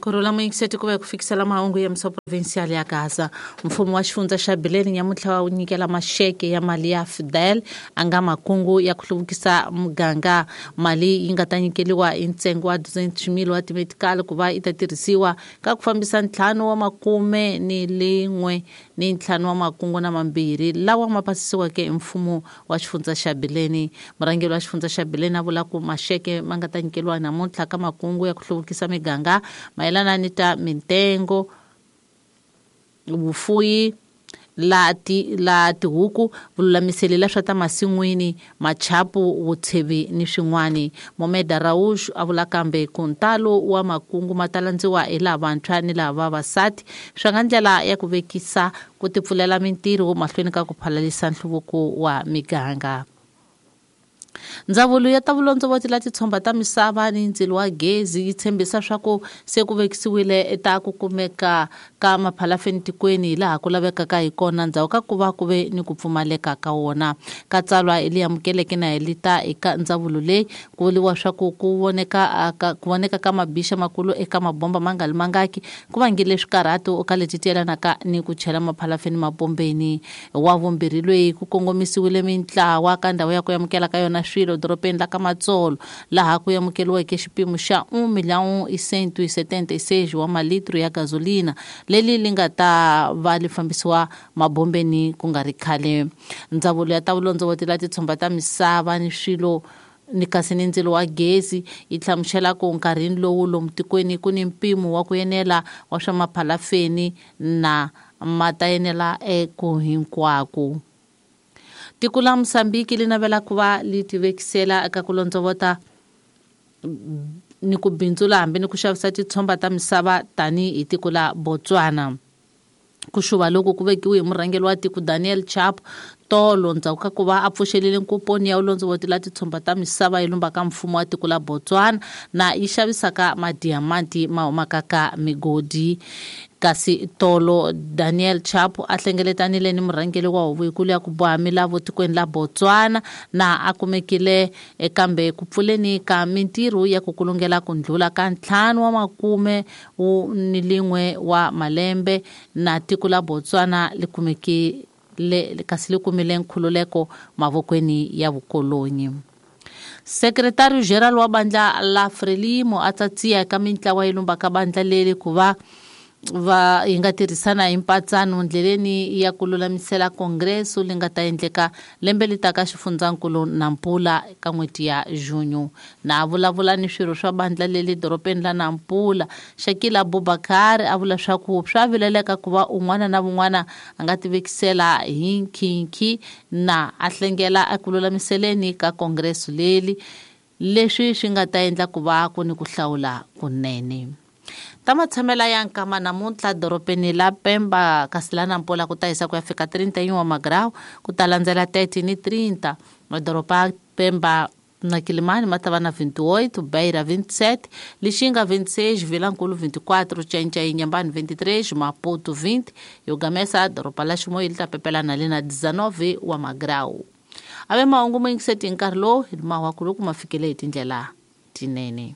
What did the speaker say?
Kurhula muyingiseti ku va ku fikisela mahungu ya misa provincial ya Gaza. Mfumo wa xifundza xa Bileni nyamuntlha wu nyikela maxeke ya mali ya Fidel a nga makungu ya ku hluvukisa muganga. Mali yi nga ta nyikeliwa hi ntsengo wa 200,000 wa timetikali ku va yi ta tirhisiwa ka ku fambisa 51 ni 5 wa makungu na mambirhi lawa ma pasisiweke hi mfumo wa xifundza xa Bileni. Murhangeri wa xifundza xa Bileni a vula ku maxeke ma nga ta nyikeliwa namuntlha ka makungu ya ku hluvukisa miganga mayelana ni ta mintengo, vufuyi la tihuku, vululamiseli la swa ta masin'wini, machapu, vutshevi ni swin'wani. Momeda Raush a vula kambe ku ntalo wa makungu ma ta landziwa hi lavantshwa ni lava vavasati swa nga ndlela ya ku vekisa ku tipfulela mintirho mahlweni ka ku phalalisa nhluvuko wa miganga. Ndzawulo ya ta vulondzovoti la titshomba ta misava ni ndzilo wa gezi yi tshembisa swa ku se ku vekisiwile ta ku kumeka ka maphalafeni tikweni hi laha ku lavekaka hi kona ndzhaku ka ku va ku ve ni ku pfumaleka ka wona. Ka tsalwa hi li amukeleke na hi li ta eka ndzawulo leyi ku vuriwa swa ku ku voneka ka mabixa makulu eka mabomba ma nga li mangaki ku vangile swikarhato ka leti ti yelanaka ni ku chela maphalafeni mabombeni. Wa vumbirhi loyi ku kongomisiwile mintlawa ka ndhawu ya ku amukela ka yona swilo dorobeni la ka Matsolo laha ku amukeliweke xipimo xa 1,176 wa malitru ya gasolina leli li nga ta va li fambisiwa mabombeni ku nga ri khale. Ndzawulo ya ta vulondzovoti la titshomba ta misava ni swilo ni kasi ni ndzilo wa gezi yi hlamusela ku nkarhini lowu lomu tikweni ku ni mpimo wa ku enela wa swa maphalafeni na ma ta enela eku hinkwako. Tiko la Mozambique li navela ku va li tivekisela eka ku londzovota ni ku bindzula hambi ni ku xavisa titshomba ta misava tanihi tiko la Botswana. Ku xuva loku ku vekiwe hi murhangeri wa tiko Daniel Chapo tolo ndzhaku ka ku va a pfuxelile nkuponi ya vulondzovoti la titshomba ta misava yi lumbaka mfumo wa tiko la Botswana na yi xavisaka madiamanti ma humaka ka migodi. Kasi tolo Daniel Chapo a hlengeletanile ni murhangeri wa huvo yikulu ya ku boha milawu tikweni la Botswana na a kumekile kambe ku pfuleni ka mintirho ya ku kulungela ku ndlula ka 51 wa malembe na tiko la Botswana li kumekile kasi li kumile nkhululeko mavokweni ya vukolonyi. Sekretari General wa bandla la Frelimo a tsatsiya eka mintlawa yi lumbaka bandla leri ku va va yi nga tirhisana hi mpatsano ndleleni ya ku lulamisela kongreso li nga ta endleka lembe li taka xifundzankulu Nampula ka n'hweti ya Junho. Na vulavula ni swirho swa bandla leli dorobeni la Nampula, Shakila Abubakar a vula swa ku swa vileleka ku va un'wana na un'wana a nga tivekisela hi nkhinkhi na a hlengela eku lulamiseleni ka kongreso leli leswi swi nga ta endla ku va ku ni ku hlawula kunene. Ta matshamela ya nkama namuntlha dorobeni la Pemba kasi la Nampula ku ta hisa ku ya fika 31 wa magrawu ku ta landzela 30 ni 30. Madoroba Pemba na Kilimani ma ta va na 28, Beira 27, Lixinga 26, Vilankulu 24, Txai-Txai Inhambane 23, Maputo 20, Yogamesa doroba la Chimoio li ta pepelana li na 19 wa magrawu. Ave mahungu mo yingiseti hi nkarhi lowu hi mawa ku loko ma fikele hi tindlela tinene.